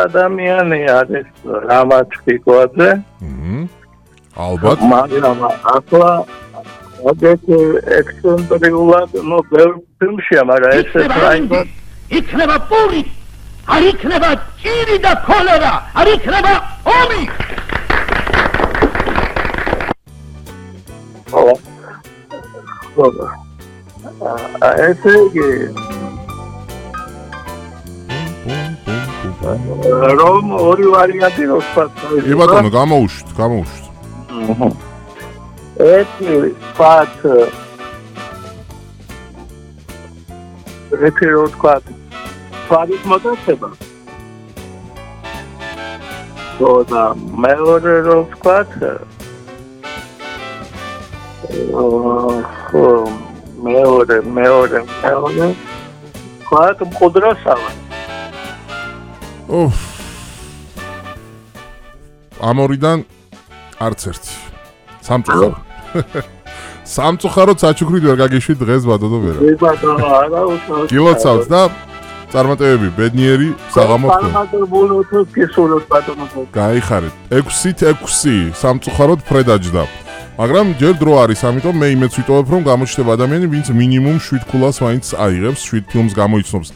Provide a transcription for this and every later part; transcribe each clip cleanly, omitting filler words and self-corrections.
ადამიანი არის რამათფიკვაძე. ალბათ. მაგრამ ახლა აგეთი ექსცენტრიულად, ბევრ ფილმშია, მაგრამ ესე რაიმად იქნება პური, არ იქნება ჭირი და ქოლერა, არ იქნება ომი. ესე იგი რომ ორი ვარიანტი რო ვთქვათ. კი ბატონო, გამოუშვით. ერთი ვთქვათ ერთი რო ვთქვათ თვალის მოტაცება. და მეორე რო ვთქვათ მეორე ვთქვათ მყუდროსავა. ამორიდან არც ერთი. სამწუხაროდ. სამწუხაროდ საჩუქრით ვერ გაგიშვით დღეს ბატონო ვერა. კი ბატონო, არა უშავს. გილოცავთ და წარმატებები ბედნიერი საღამო თქვენ. წარმატებულოთ გესურვოთ ბატონო. გაიხარეთ. 6-ით 6 სამწუხაროდ ფრედაჯდა. მაგრამ ჯერ დრო არის, ამიტომ მე იმედს ვიტოვებ, რომ გამოჩნდება ადამიანი, ვინც მინიმუმ 7 ქულას მაინც აიღებს, 7 ფილმს გამოიცნობს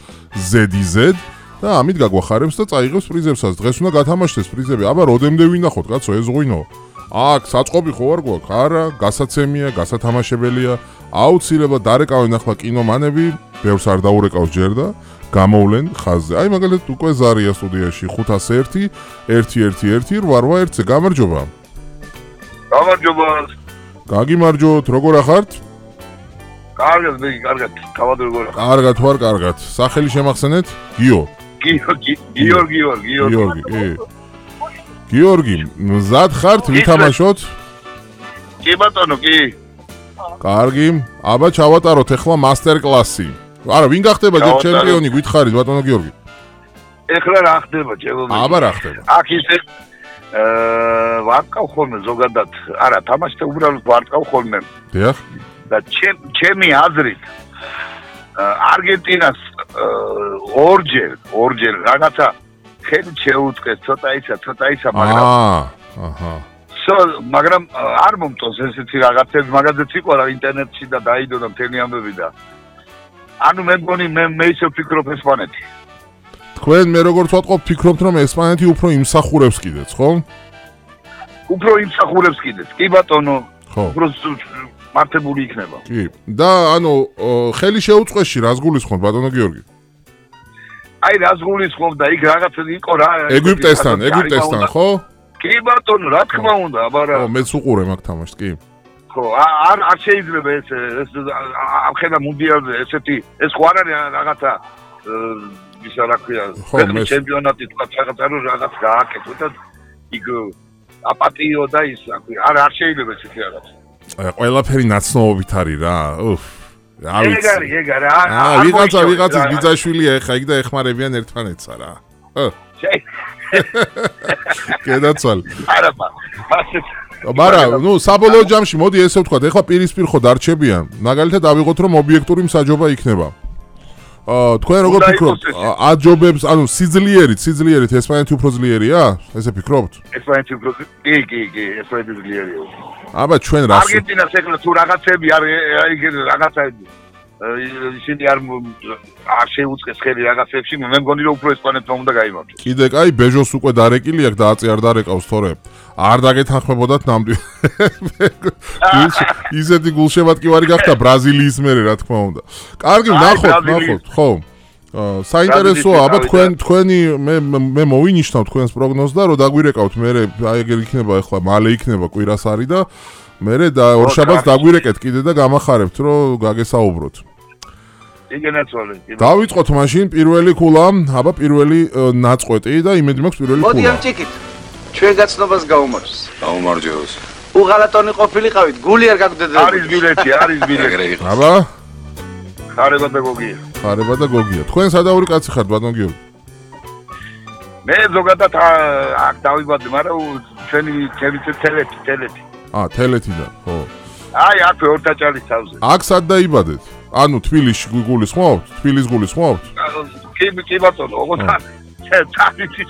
Z-Z და ამით გაგვახარებს და წაიღებს პრიზებსაც. დღეს უნდა გათამაშდეს პრიზები. აბა როდემდე ვინახოთ, კაცო, ეს ღვინო. აქ საწყობი ხო არ გვაქვს? არა, გასაცემია, გასათამაშებელია. აუცილებლად დარეკავენ ახლა კინომანები, ბევრს არ დაურეკავს ჯერ და გამოვლენ ხაზზე. აი მაგალითად უკვე ზარია სტუდიაში 501 111 881-ზე. გამარჯობა. გამარჯობა. გაგიმარჯოთ, როგორ ახართ? კარგად, კარგად. თავად როგორ ახართ? კარგად ვარ, კარგად. სახელი შემახსენეთ? გიო. გიორგი. გიორგი, მზად ხართ ვითამაშოთ? კი ბატონო, კი. კარგი, აბა ჩავატაროთ ახლა მასტერ კლასი. არა, ვინ გახდება ჯერ ჩემპიონი, გითხარით ბატონო გიორგი? ეხლა რა ხდება ჩემო? აბა რა ხდება? აქ ისე ვარკავ ხოლმე ზოგადად. არა, თამაშზე უბრალოდ ვარკავ ხოლმე. დიახ. და ჩემი აზრით არგენტინას ორჯერ რაღაცა ხელი შეუწყეს ცოტა ისა, მაგრამ აჰა. მაგრამ არ მომწონს ესეთი რაღაცები, მაგაზეც იყო რა ინტერნეტში და დაიდო და მთელი ამბები და ანუ მე მგონი მე ისე ვფიქრობ ესპანეთი. თქვენ მე როგორც ვატყობ ფიქრობთ რომ ესპანეთი უფრო იმსახურებს კიდეც, ხო? უფრო იმსახურებს კიდეც. კი ბატონო. ხო. უფრო მართებული იქნება. კი. და ანუ ხელი შეუწყეში რას გულისხმობ ბატონო გიორგი? აი რას გულისხმობ და იქ რაღაცა იყო რა. ეგვიპტესთან, ხო? კი ბატონო, რა თქმა უნდა, აბა რა. ხო, მეც უყურე მაგ თამაშს, კი. ხო, არ შეიძლება ეს ამხელა მუნდიალზე ესეთი ეს ხო არ არის რაღაცა ისა რა ქვია, ჩემპიონატი თქვა რაღაცა რომ რაღაც გააკეთო და იქ აპატიო და ის რა ქვია, არ შეიძლება ესეთი რაღაცა. ყველაფერი ნაცნობობით არის რა. ეგ არის. ვიღაცის ბიძაშვილია ეხა იქ და ეხმარებიან ერთმანეთსა რა. კედაცვალ. არა, მაგრამ საბოლოო ჯამში მოდი ესე ვთქვათ, ეხლა პირისპირ ხო დარჩებიან. მაგალითად ავიღოთ რომ ობიექტური მსაჯობა იქნება. თქვენ როგორ ფიქრობთ? აჯობებს, ანუ სიძლიერით ესპანეთი უფრო ძლიერია? ესე ფიქრობთ? ესპანეთი უფრო კი, ესპანეთი ძლიერია. აბა ჩვენ რა არგენტინას ეხლა თუ რაღაცები რაღაცაები ისინი არ შეუწყეს ხელი რაღაცებში, მე მგონი რომ უფრო ესპანეთმა უნდა გაიმარჯვოს. კიდე კაი ბეჟოს უკვე დარეკილი აქვს და აწი არ დარეკავს თორე. არ დაგეთანხმებოდათ ნამდვილად. ისეთი გულშემატკივარი გახდა ბრაზილიის მერე რა თქმა უნდა. კარგი, ნახოთ, ხო. საინტერესოა, აბა თქვენი მე მოვინიშნავ თქვენს პროგნოზს და რომ დაგვირეკავთ მერე აი ეგ იქნება ახლა მალე იქნება კვირასარი და მერე და ორშაბათს დაგვირეკეთ კიდე და გამახარებთ რომ გაგესაუბროთ. იგენაცვალე. დავიწყოთ მაშინ პირველი ქულა, აბა პირველი ნაწყვეტი და იმედი მაქვს პირველი ქულა. მოდი ამ ჭიქით. ჩვენ გაცნობას გაუმარჯოს. გაუმარჯოს. უღალატონი ყოფილიყავით, გული არ გაგვდედებით. არის ბილეთი. აბა? ხარება და გოგია. ხარება და გოგია. თქვენ სადაური კაცი ხართ, ბატონ გიორგი? მე ზოგადად აქ დავიბადე, მაგრამ ჩვენი თელეთი. თელეთიდან, ხო. აი, აქვე ორთაჭალის თავზე. აქ სად დაიბადეთ? ანუ თბილისში გულისხმობთ? თბილის გულისხმობთ? კი ბატონო, ოღონდ წახვით